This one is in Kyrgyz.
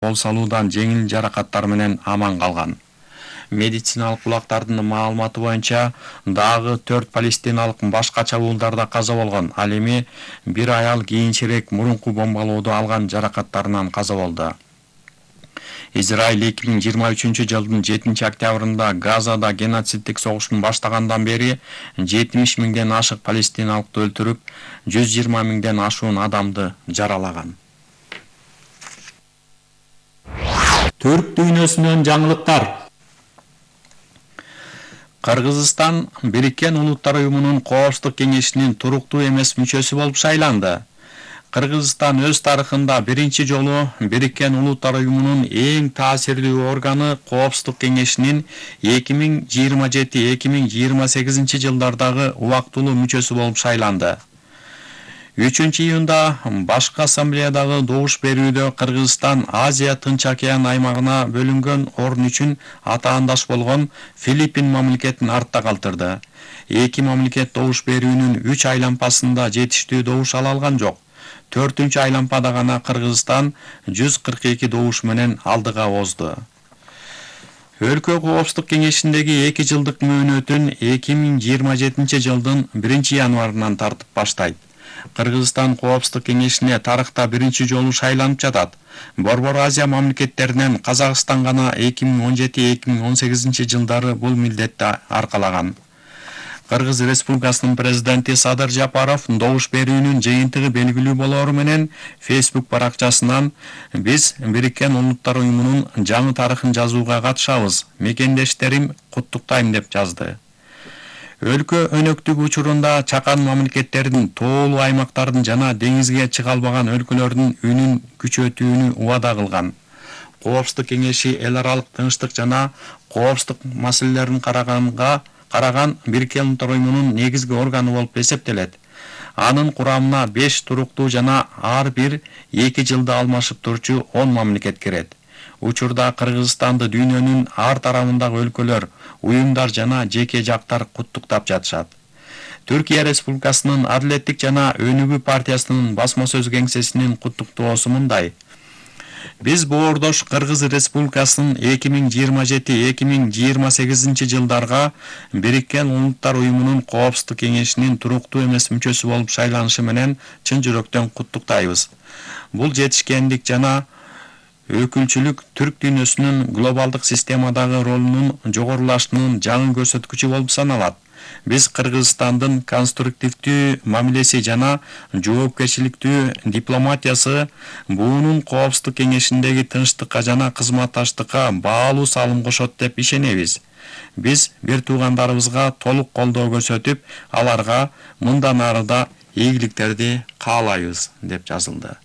кол салуудан жеңил жаракаттар менен аман калган. Медициналык булактардын маалыматы боюнча дагы 4 палестиналык башка чабуулдарда каза болгон. Ал эми бир аял кийинчерээк мурунку бомбалоодо алган жаракаттарынан каза болду. Израиль 2023-жылдын 7-октябрында Газада геноциддик согуштун баштагандан бери 70 миңден ашык палестиналыкты өлтүрүп, 120 миңден ашуун адамды жаралаган. Түрк дүйнөсүнөн жаңылыктар. Кыргызстан Бириккен Улуттар Уюмунун Коопсуздук кеңешинин туруктуу эмес мүчөсү болуп шайланды. Кыргызстан өз тарыхында биринчи жолу Бириккен Улуттар Уюмунун эң таасирлүү органы Коопсуздук кеңешинин 2027-2028 жылдардагы убактылуу мүчөсү болуп шайланды. 3-июнда башкы ассамблеядагы добуш берүүдө Кыргызстан Азия Тынч океан аймагына бөлүнгөн орун үчүн атаандаш болгон Филиппин мамлекетин артта калтырды. Эки мамлекет добуш берүүнүн 3 айлампасында жетиштүү добуш ала алган жок. 4-чү айлампада гана Кыргызстан 142 добуш менен алдыга озду. Өлкө Коопсуздук кеңешиндеги 2 жылдык мөөнөтүн 2027 жылдын 1-январынан тартып баштайт. Кыргызстан Коопсуздук кеңешине тарыхта биринчи жолу шайланып жатат. Борбор Азия мамлекеттеринен Казакстан гана 2017-2018 жылдары бул милдетти аркалаган. Кыргыз Республикасынын президенти Садыр Жапаров добуш берүүнүн жыйынтыгы белгилүү болору менен Facebook баракчасынан биз Бириккен Улуттар Уюмунун жаңы тарыхын жазууга катышабыз. Мекендештерим, куттуктайм деп жазды. Өлкө өнөктүк учурунда чакан мамлекеттердин, тоолуу аймактардын жана деңизге чыга албаган өлкөлөрдүн үнүн күчөтүүнү убада кылган. Коопсуздук кеңеши эл аралык тынчтык жана коопсуздук маселелерин караган Бириккен Улуттар Уюмунун негизги органы болуп эсептелет. Анын курамына 5 туруктуу жана ар бир 2 жылда алмашып турчу 10 мамлекет кирет. Учурда Кыргызстанды дүйнөнүн ар тарабындагы өлкөлөр, уюмдар жана жеке жактар куттуктап жатышат. Түркия Республикасынын Адилеттик жана Өнүгүү партиясынын басма сөз кеңсесинин куттуктоосу мындай: Биз боордош Кыргыз Республикасынын 2027-2028 жылдарга Бириккен Улуттар Уюмунун Коопсуздук кеңешинин туруктуу эмес мүчөсү болуп шайланышы менен чын жүрөктөн куттуктайбыз. Бул жетишкендик жана өкүлчүлүк түрк дүйнөсүнүн глобалдык системадагы ролунун жогорулашынын жаңы көрсөткүчү болуп саналат. Биз Кыргызстандын конструктивдүү мамилеси жана жоопкерчиликтүү дипломатиясы буунун Коопсуздук кеңешиндеги тынчтыкка жана кызматташтыкка баалуу салым кошот деп ишенебиз. Биз бир туугандарыбызга толук колдоо көрсөтүп, аларга мындан ары да ийгиликтерди каалайбыз деп жазылды.